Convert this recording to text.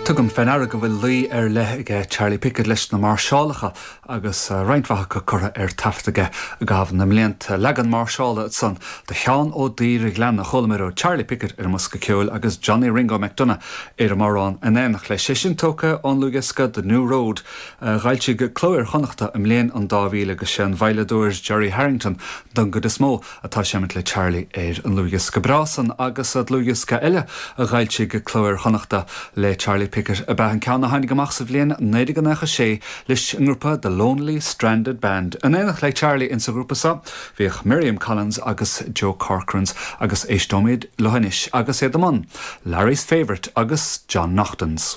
Tugaim fé ndeara go bhfuil luí ar leith aige Charlie Pickett leis na máirseálacha agus roinnt mhaith acu curtha ar taifead aige i gcaitheamh na mblianta. Leagan máirseála ansan de Sheán Ó Daoireghleanna a chualamar ó Charlie Pickett ar an mbosca ceoil agus Johnny Ringo McDonagh ar an mbodhrán in éineacht leis. É sin tógtha ón ndlúthdhiosca The New Road a dh'fhoilsigh Cló Iar-Chonnachta i mbliain an 2000 agus sé an veidhleadóir Gerry Harrington don gcuid is mó atá ag seimint le Charlie ar an ndlúthdhiosca breá san agus dlúthdhiosca eile a dh'fhoilsigh Cló Iar-Chonnachta le Charlie Pickett ab ea an ceann a tháinig amach sa bhliain 1996 leis an ngrúpa The Lonely Stranded Band. In éineacht le Charlie insa ghrúpa seo bhíodh Miriam Collins agus Joe Corcorans agus éisteoimid leo anois agus iad i mbun Larry's Favourite agus John Naughton's.